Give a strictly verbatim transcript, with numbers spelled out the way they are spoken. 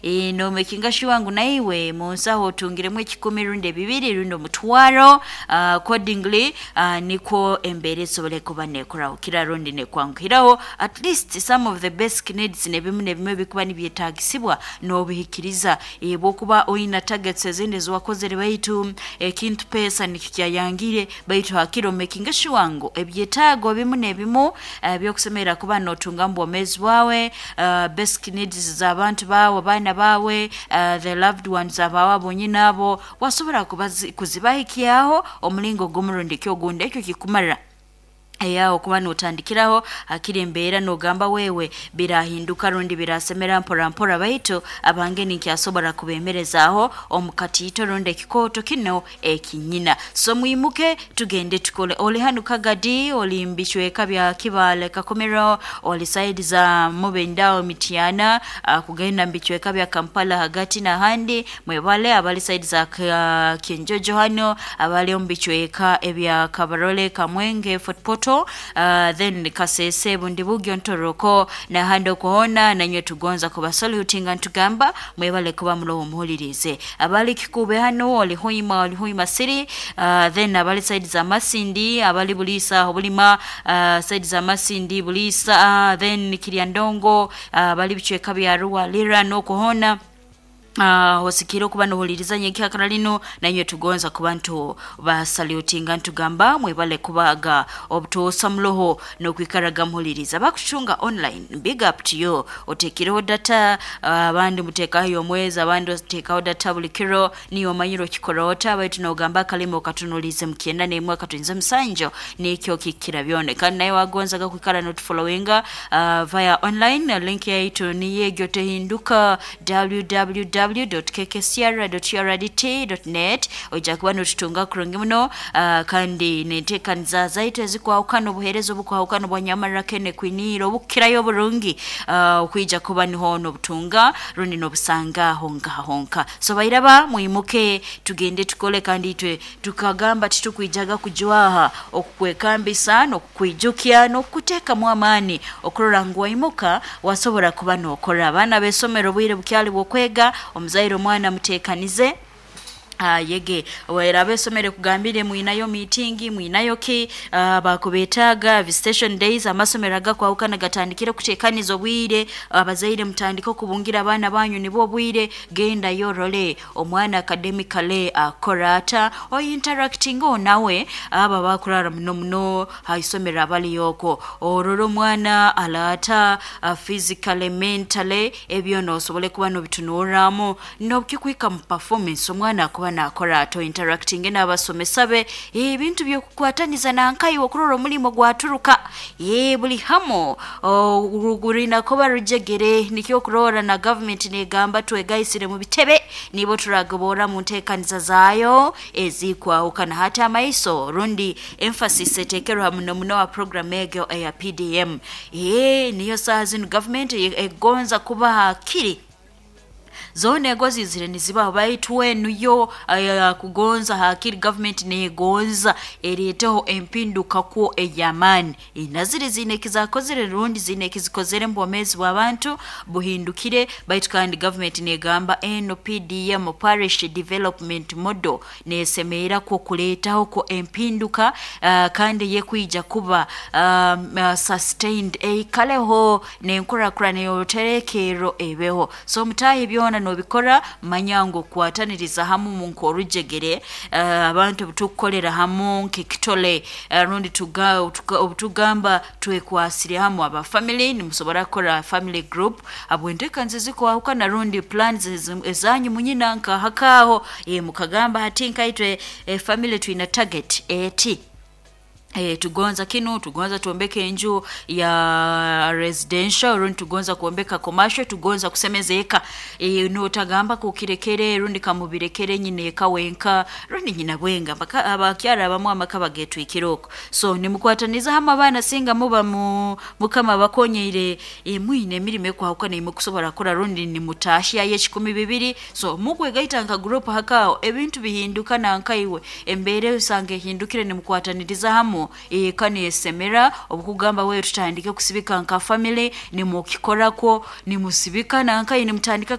E, nomakinga sure ngu naiwe munsaho otungiremu ekikumi rundi ebibiri rundi omutwaro, uh, accordingly, uh, nikwo embeera esobole kuba nekurahukira rundi nekwanguhiraho, at least some of the basic needs nebimu nebimu ebikuba nibyetagisibwa n'obihikiriza. E, bwokuba oyina targets ezindi eziwakozere baitu ekintu pesa nikikyayangire, baitu hakiro making sure ngu ebyetaago bimu nebimu ebyokusemerera kuba notunga mu bwomeezi bwawe, uh, basic needs z'abantu bawe, abaana bawe, uh, the loved ones abawe abonyine abo wasobora kuzibahikyaho omulingo gumu rundi ki ogundi, ekyo kikumara eyaho kuba notandikiraho akiri embeera nogamba wewe birahinduka rundi birasemera mpora mpora, baitu abange ninkyasobora kubemerezaaho omukatiito rundi ekikooto kino ekinyina. So mwimuke tugende tukole. Oli hanu Kagadi, oli mbicweka bya Kibale Kakomero, oli side za Mubendao Mityana, uh, kugenda mbicweka bya Kampala hagati n'ahandi, mwebale abali side za uh, Kyenjojo hano, abali omu bicweka ebya Kabarole, Kamwenge, Fort Portal, uh, then Kasese, Bundibugyo, Ntoroko n'ahandi okuhona, nanywe tugonza kubasalutinga ntugamba mwebale kuba muloho muhulirize. Abali Kikube hano, oli Hoima, oli Hoima City, uh, then abali side za Masindi, abali Bulisa Bulima, uh, side za Masindi Bulisa, uh, then Kiryandongo, uh, abali bicweka bya Ruwa Lira n'okuhona, Uh, osikire okuba nohuliriza nyenkyakara lino, nanywe tugonza kuba ntu basalutinga ntugamba mwebale kubaga obutosa muloho nokwikaraga muhuliriza. Bakucunga online, big up to you, otekireho data, abandi uh, mutekaho omwezi, abandi otekaho data buli kiro, niyo omanyire okikora ota, baitu nogamba akalimi okatunulize mukyenda n'emwe akatuinze musanjo nikyo kikira byone. Kandi naye wagonzaga kwikara notufollowinga uh, via online, link yaitu niyo egyo tehinduka, w w w dot k k c r dot u r d t dot net, ojja kuba notutunga kurungi muno, uh, kandi nenteekaniza zaitu ezikwahukana, obuheereza obukwahukana bwa nyamarra kene kwiniira obukirayo oburungi, uh, okwija kuba niho nobutunga rundi nobusanga honka honka. So bairaba mwimuke tugende tukole, kandi itwe tukagamba titukwijaga kujwaha okukwekambisa n'okukwijukya n'okukuteekamu amaani okurora ngu waimuka wasobora kuba nokora. Abaana b'esomero obwire bukyali bw'okwega, omuzaire omwana muteekanize Uh, yege wera abesomere kugambire mwinayo meeting, mwinayo ki, uh, bakubetaga visitation days, amasomero agakwahukana gatandikire kutekaniza obwire, abazaire mutandike okubungira abaana banyu nibo obwire, genda yorole omwana academically akora ata, o interacting nawe aba bakurara muno muno haisomero abali yoko, orore omwana alata uh, physically mentally, ebyo nosobole kuba nobitunuramu nokikwika mu performance omwana akuba nakora ato interacting n'abasomesa be, ebintu byokukwataniza nankayi okurora omulimo gwaturuka, ye buli hamo rurina kuba rujegere, nikyo kurora na government negamba twegayisire mu bitebe nibo turagobora mu nteekaniza zaayo ezikwahukana. Hata amaiso rundi emphasis etekerwa muno muno wa program ego eya P D M, ye niyo saa zino government egonza kuba hakiri zone egozi zire niziba baitu wenu yo uh, kugonza hakiri government negonza ereteho empinduka kwo eyamani inazire zine kizakozere rundi zine kizikozere mbomezi bw'abantu buhindukire, baitu kandi government negamba eno P D M Parish Development Model nesemera ko kuletaho ko empinduka, uh, kandi yekuija kuba um, uh, sustained eikaleho nenkurakura neyoterekero ebeho. So mutahi byona nobikora manyango kwataniriza hamu mu nkorujegere, uh, abantu tukukolera hamu nk'ekitole, uh, rundi tuga, obutugamba twekwasire hamu aba family, nimusobora kukora family group abwenteka nzizikwahukana rundi plans ezanyu munyina nka hakaho, e, mukagamba hati nkaitwe e, family twina target eti E, tugonza kinu, tugonza tuombeke enju ya residential rundi tugonza kuombeka commercial, tugonza kusemeza eka, e, notagamba kukirekere rundi kamubirekere nyine eka wenka rundi nyina bwenga mpaka abakyara abamu amaka bagetwikiroko. So nimukwataniza hamwe abaana singa muba mu mukama bakonyeire e, mwine emirimo ekwahukana imukusobora kora rundi nimutashya y'ekikumi bibiri. So mukwegaita nka group hakao ebintu bihinduka nankaiwe embere usange hindukire nimukwataniriza hamwe eka nesemera obukugamba wewe tutandike kusibika nka family nimukikorako nimusibika nankayi nimutandika